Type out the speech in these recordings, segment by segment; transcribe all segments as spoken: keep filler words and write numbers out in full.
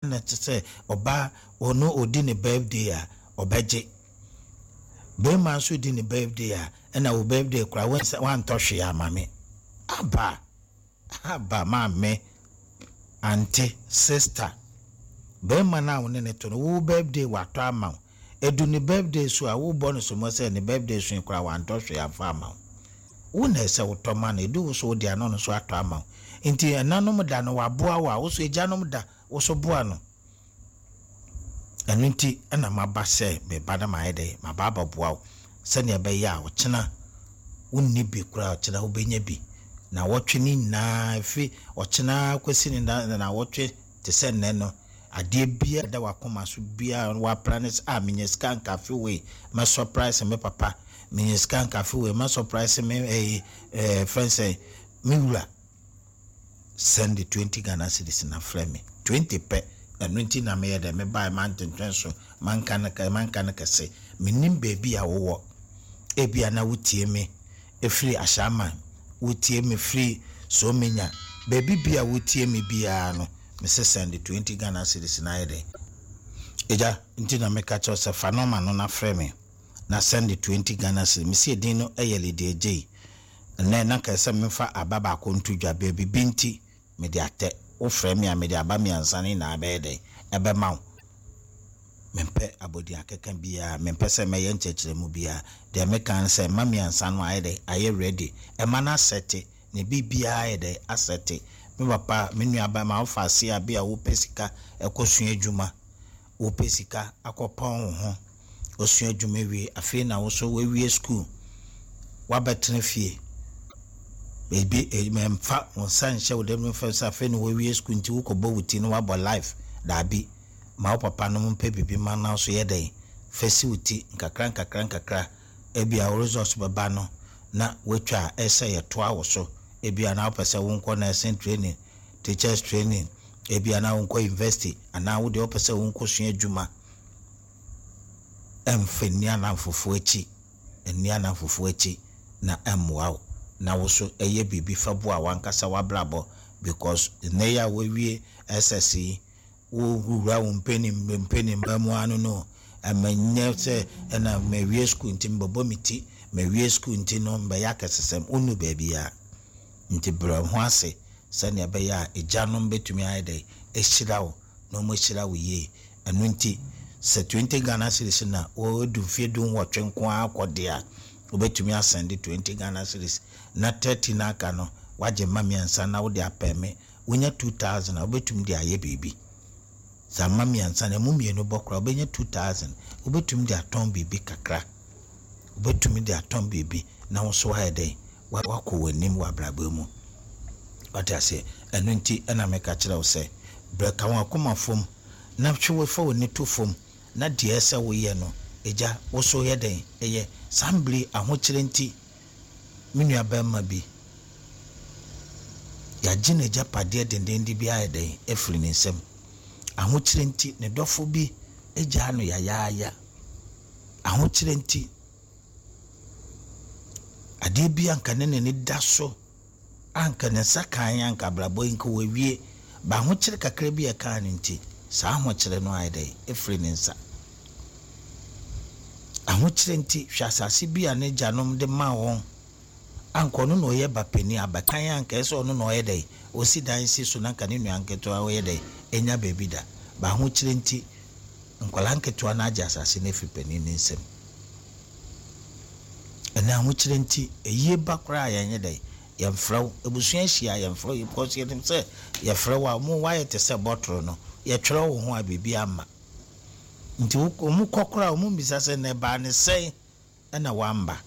Na kyerɛ sɛ ɔbaa ɔno ɔdi ne birthday a, ɔbɛgye. Bɛrima nso di ne birthday a, ɛna wo birthday koraa wantɔ hwee ama me. Aba aba, maame, auntie, sister, bɛrima no a wo ne ne to no, wo birthday watɔ ama wo. Edu ne birthday so a, wobɔ no somo sɛ ne birthday so koraa wantɔ hwee amfa ama wo. Wo na ɛsɛ wotɔ ma no. Edu wo so wode ano no so atɔ ama wo. Nti ɛnanom da no waboa wo a, wo so agyanom da wo so boa no. Ɛno nti ɛna maba sɛ meba na mayɛ dɛ maba abɛboa wo sɛnea ɛbɛyɛ a ɔkyena wonni bi koraa, ɔkyena wobɛnya bi. Na wɔtwe ne nyinaa ɛfiri ɔkyena kɔsi ne na wɔtwe te sɛ nnɛ no, adeɛ biara da wakoma so biara wapra ne sɛ a, menya sika nka afe wei mɛ surprise me papa, menya sika nka afe wei mɛ surprise me ɛyi ɛɛ fɛn sɛ me wura. Send the twenty Ghana cedis na frɛ me. Twenty pɛ. Ɛno nti na meyɛ dɛ mebae mantwentwɛn so, manka no manka no kɛse. Menim baabi a wowɔ. Ebia na wotie me ɛfiri Ahyɛaman, wotie me firi Somenya, baabi bia wotie me biara no, mesɛ send twenty Ghana cedis na ayɛ dɛ ɛgya. Nti na meka kyerɛw sɛ fa nɔma no na frɛ me na send twenty Ghana cedis. Mesi edin no ɛyɛ Lydia Gyei. Ɛnɛ na nka sɛ memfa aba baako nto dwa, baabi bi nti mede atɛ. Wofrɛ me a, mede aba mmiɛnsa no nyinaa bɛyɛ dɛn ɛbɛma wo. Mempɛ abɔdin akeka biara, mempɛ sɛ mɛyɛ nkyerɛkyerɛmu biara. Deɛ meka no sɛ mma mmiɛnsa no ayɛ dɛn ayɛ ready, ɛma no asɛte ne biribiara ayɛ dɛn asɛte. Me papa, me nua ma wofa ase a, bi a wopɛ sika ɛkɔsua adwuma, wopɛ sika akɔpɔn wo ho, osua adwuma wie, afei na wo so wawie school, wabɛtena fie. Ebi mɛmfa wo nsa nhyɛ wo dɛm mfa sɛ afei na wawie school nti wokɔbɔ wo ti na wabɔ life. Daabi, ma wo papa no mpɛ biribi ma na so yɛ dɛn fɛ si wo ti nkakra nkakra nkakra. Ebi a wo results bɛba no na watwa a ɛsɛ yɛtoa wo so. Ebi a na wopɛ sɛ wonkɔ nursing training, teachers training, ebi a na wonkɔ university, anaa wo deɛ wopɛ sɛ wonkɔ sua adwuma. Ɛmfa nni anamfofoɔ akyi, nni anamfofoɔ akyi na ɛmmoa wo na wo so ɛyɛ biribi fa boa wankasa w'abrabɔ, because nnɛ yi a wawie S S yi, wowura wo mpanin mpanimba mu ano no, ɛma nyɛ sɛ ɛna mawie school nti mbɛbɔ me ti, mawie school nti no mbɛyɛ akɛsesɛm. Wonnu baabi a nti brɛ ho ase sɛnea ɛbɛyɛ a agyanom bɛtumi ayɛ dɛ ahyira wo na ɔmo ahyira wo yie. Ɛno nti sɛ twenty Ghana cedis na wɔadu mfeɛ du nwɔtwe nko ara kɔ deɛ a, wobɛtumi asɛnde twenty Ghana cedis na thirty no aka no wagye mma mmiɛnsa na wode apɛ me. Wonya two thousand a, wobɛtumi de ayɛ biribi. Sɛ ama mmiɛnsa no ɛmu mmienu bɔ koraa, wobɛnya two thousand, wobɛtumi de atɔn biribi kakra, wobɛtumi de atɔn biribi na wo nso ayɛ dɛn wakɔ w'anim wɔ abrabɔ mu. Wate aseɛ? Ɛno nti ɛna meka kyerɛ wo sɛ brɛ ka wɔn akoma fam na hwɛ wo fa w'ani to fam na deɛ ɛsɛ woyɛ no, agya, wo so yɛ dɛn ɛyɛ. Saa mbere ahokyerɛ nti, me nua bɛrima bi, yɛagye n'agyapadeɛ dendenden bi ayɛ dɛn afiri ne nsam. Ahokyerɛ nti ne dɔfo bi agyaa no yayaaya. Ahokyerɛ nti adeɛ bi anka ne n'ani da so, anka ne nsa kan, anka abrabɔ yi nka wawie ba, ahokyerɛ kakra bi a ɛkaa no nti saa ahokyerɛ no ayɛ dɛn afiri ne nsa. Ahokyerɛ nti, hwɛ asase bi a ne gyanom de maa wɔn, anka ɔno na ɔyɛ ba panin abakan, anka ɛsɛ ɔno na ɔyɛ dɛn ɔsi dan si so na anka ne nua nketewa ɔyɛ dɛn ɛnya baabi da ba. Ahokyerɛ nti nkwadaa nketewa no agye asase no afiri panin ne nsam. Ɛnna ahokyerɛ nti eyie ba koraa yɛnyɛ dɛn yɛmfrɛ wo. Abusua ahyia, yɛmfrɛ wo because yɛnim sɛ yɛfrɛ wo a, mo wayɛ te sɛ bɔtoro no, yɛtwerɛ wo ho a biribi ama nti wɔn kɔ koraa, wɔn mbisa sɛ na ɛbaa ne sɛn ɛna wamba.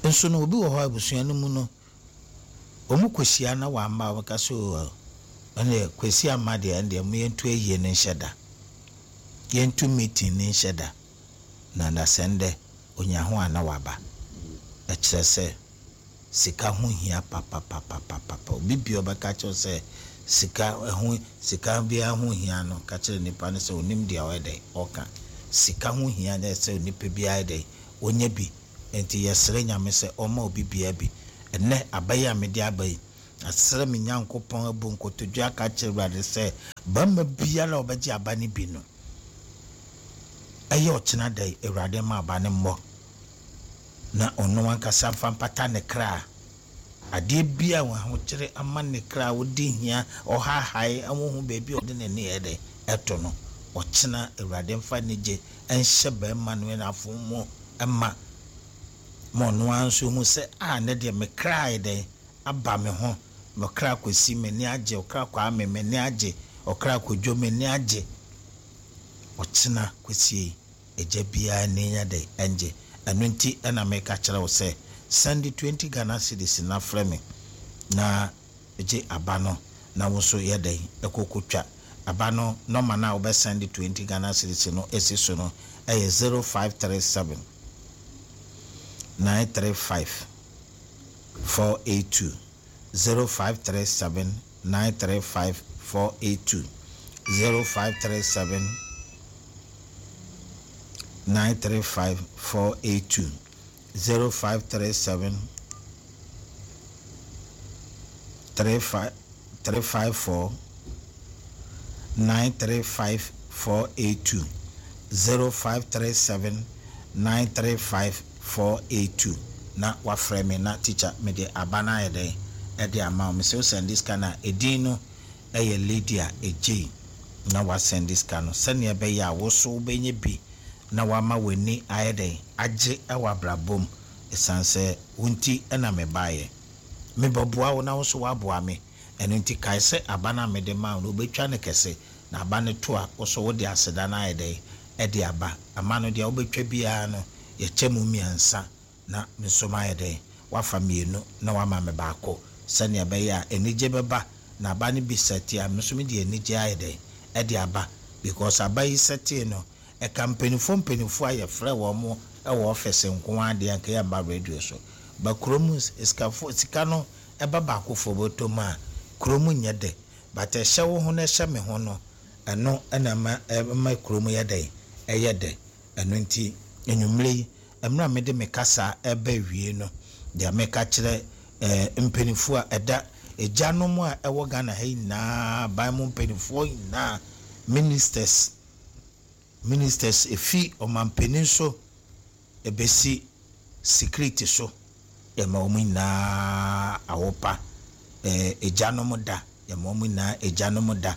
Nso no obi wɔ hɔ abusua no mu no, wɔn kɔhyia na wamba, wɔn ka so ɛnna kwasi ama deɛ, ɛndeɛ mo yɛntu ayie no nhyɛ da, yɛntu meeting no nhyɛ da na nasɛn dɛ onya ho a na waba. Ɛkyerɛ sɛ sika ho hia papapapapapa. Obi bia ɔbɛka kyerɛ sɛ sika ho sika biara ho hia no, ka kyerɛ nipa no sɛ onim deɛ ɔyɛ dɛ ɔka. Sika ho hia dɛ sɛ nipa biara yɛ dɛ onya bi. Nti yɛsrɛ Nyame sɛ ɔma obi biara bi. Ɛnɛ aba yi a mede aba yi, Asrɛ me Nyankopɔn, abu nkotodwe aka kyerɛ Awurade sɛ barima biara a ɔbɛgye aba no bi no, ɛyɛ ɔkyena da yi, Awurade ma aba no mmɔ na ɔno ankasa mfa mpata ne kra. Adeɛ bi a ahokyere ama ne kra a wodi hia ɔhahae ahohu baabi a ɔde n'ani yɛ dɛ ɛto no, ɔkyena Awurade mfa anigye ɛnhyɛ barima no n'afo mu ɛma ma ɔno ara nso hu sɛ a ne deɛ me kra yɛ dɛn aba me ho. Me kra Kwasi, m'ani agye. Ɔkra Kwame, m'ani agye. Ɔkra Kodwo, m'ani agye. Ɔkyena Kwesi, agya biara ani nya dɛ ɛngye. Ɛno nti ɛna meka kyerɛ wo sɛ send twenty Ghana cedis na frɛ me na gye aba no, na wo nso yɛ dɛn ɛkɔkɔtwa aba no. Nɔma no a wobɛsend twenty Ghana cedis no ɛsi so no ɛyɛ zero five three seven nine three five four eight two, zero five three seven nine three five four eight two, zero five three seven nine three five four eight two, zero five three seven three five three five four nine three five four eight two, zero five three seven nine three five four eight two, na wafrɛ me na teacher mede aba no ayɛ dɛn ɛde ama wo. Mesɛ wo send sika no a, ɛdin no ɛyɛ Lydia Egyei, na wasend sika no sɛnea ɛbɛyɛ a wo so wobɛnya bi na wama w'ani ayɛ dɛn agye ɛwɔ abrabɔ mu, ɛsiane sɛ wo nti ɛna mebaeɛ mebɛboa wo na wo nso woaboa me. Ɛno nti kae sɛ aba no a mede ma wo no, wobɛtwa no kɛse, na aba no to a, wo so wode aseda no ayɛ dɛn ɛde aba ama no. Deɛ wobɛtwa biara no, yɛkyɛ mu mmiɛnsa na me nso mayɛ dɛn wafa mmienu na wama me baako, sɛnea ɛbɛyɛ a anigye bɛba. Na aba no bi sɛte a, me nso mede anigye ayɛ dɛn ɛde aba, because aba yi sɛtee no, ɛka mpanimfoɔ mpanimfoɔ a yɛfrɛ wɔn mo ɛwɔ ɔfɛse nko ara deɛ, nka yɛmba radio so ba kurom. Sikafoɔ sika no ɛba baakofoɔ bɔtɔ mu a, kurom nyɛ dɛ, but ɛhyɛ wo ho na ɛhyɛ me ho no, ɛno ɛna ɛma ɛma kurom yɛ dɛ, ɛyɛ dɛ. Ɛno nti enwummerɛ yi, mmerɛ a mede me kasa ɛbɛ wie no, deɛ meka kyerɛ ɛɛ mpanimfoɔ a ɛda agyanom a ɛwɔ Ghana ha nyinaa, ban mu mpanimfoɔ nyinaa, ministers ministers efi ɔmampanin so ebesi security so, yɛma wɔn nyinaa awopa ɛɛ agyanom da. Yɛma wɔn nyinaa agyanom da.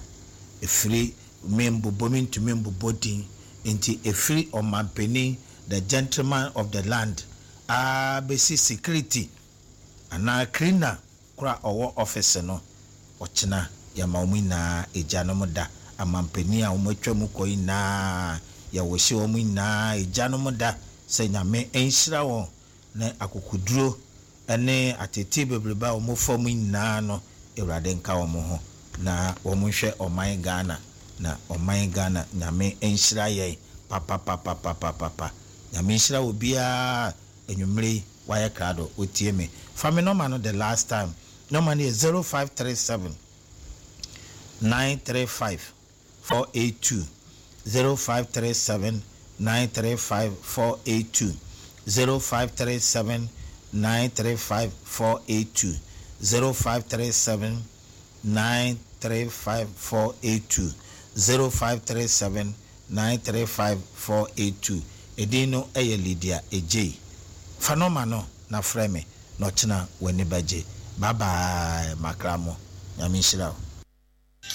Efiri me mbobɔ me ntumi mbobɔ din nti, efiri ɔmampanin, the gentleman of the land, aa besi security anaa cleaner kora ɔwɔ office no, ɔkyena yɛma wɔn nyinaa agyanom da. Amampanin a wɔn atwa mu kɔ nyinaa, yɛwɔhyɛ wɔn nyinaa agyanom da sɛ Nyame nhyira wɔn na akokoduro ne atete bebrebe a wɔn fa mu nyinaa no, Awurade nka wɔn ho na wɔn nhwɛ ɔman Ghana, na ɔman Ghana, Nyame nhyira yɛn papapapapapapa. Nyame nhyira obiara. Enwummerɛ yi wayɛ krado otie me. Fa me nɔma no the last time. Nɔma no yɛ zero five three seven nine three five four eight two, zero five three seven nine three five four eight two, zero five three seven nine three five four eight two, zero five three seven nine three five four eight two, zero five three seven nine three five four eight two. Edin no yɛ Lydia Egyei. Fa nɔma no na frɛ me na ɔkyena w'ani bɛgye. Bye bye, makra mo. Nyame nhyira wo.